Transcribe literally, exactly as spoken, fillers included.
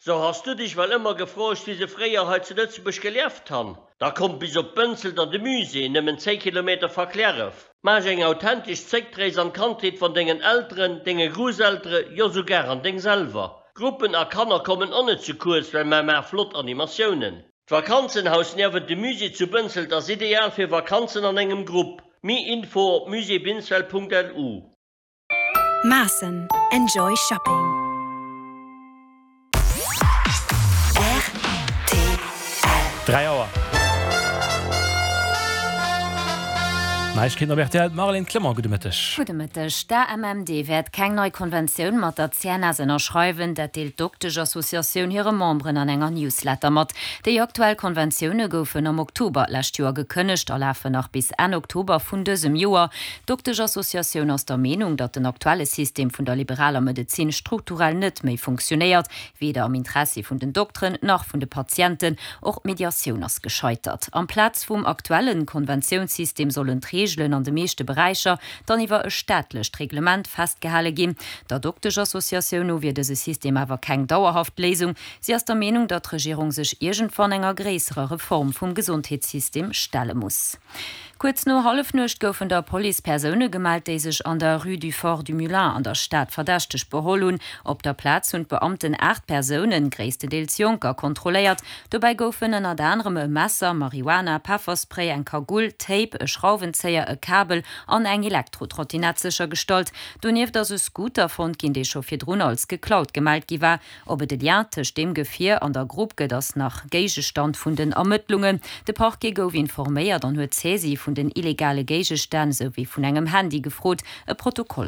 So has du dech well ëmmer gefroogt wéi se fréier hei zu Lëtzebuerg gelieft han? Da komm bis op Bënzelt an de Musée, nëmmen zéng Kilometer va Cliärref. Maach eng authentesch Zréckrees an d'Kandheet van dengen Elteren, denge Grousseltere, jo souguer an deng selwer. Gruppen a Kanner kommen och net ze kuerz, well mer maache flott Animatiounen. D'Vakanzenhaus niewent dem Musée zu Bënzelt ass ideal fir Vakanzen an engem Grupp. Méi Info op muséebinsfeld.lu. Maassen. Enjoy shopping. Dräi Auer. Neiegkeeten op rtl, d'Marlène Clement, gudde Mëtteg. Gudde Mëtteg. D'AMMD wäert keng nei Konventioun mat der C N S ënnerschreiwen. Dat deelt d'Doktesch-Associatioun hire Memberen an enger Newsletter mat. Déi aktuell Konventioune goufen am Oktober lescht Joer gekënnegt a lafen nach bis Enn Oktober vun dësem Joer. D'Doktesch-Associatioun ass der Meenung, datt den aktuelle System vun der liberaler Medezin strukturell net méi funktionéiert, weder am Interessi vun den Dokteren nach vun de Patienten. Och d'Mediatioun ass gescheitert. Amplaz vum aktuelle Konventiounssystem sollen d'Reegelen an de meeschte Beräicher dann iwwer e staatlecht Reglement festgehale ginn. Der Dokteschassociatioun no wier dëse System awer keng dauerhaft Léisung. Si ass der Meenung, datt d'Regierung sech iergendwann enger gréisserer Reform vum Gesondheetssystem stelle muss. Kuerz no Hallefnuecht goufen der Police Persoune gemellt, déi sech an der Rue du Fort du Moulin an der Stad verdächteg beholl hunn. Op der Plaz hunn d'Beamten aacht Persounen, gréisstendeels Jonker, kontrolléiert. Dobäi goufen ënnert anerem e Messer, Marihuana, Pefferspray, eng Kagull, Tape, e Schrauwenzéier, e Kabel an eng Elektrotrottinett séchergestallt. Donieft ass e Scooter fonnt ginn, dee scho virdrun als geklaut gemellt gi war. Ob et e Lien tëscht deem Gefier an der Grupp gëtt, ass nach Géigestand vun den Ermëttlungen. De Parquet gouf informéiert an huet d'Saisie vun den illegale Géigestänn souwéi vun engem Handy gefrot. E Protokoll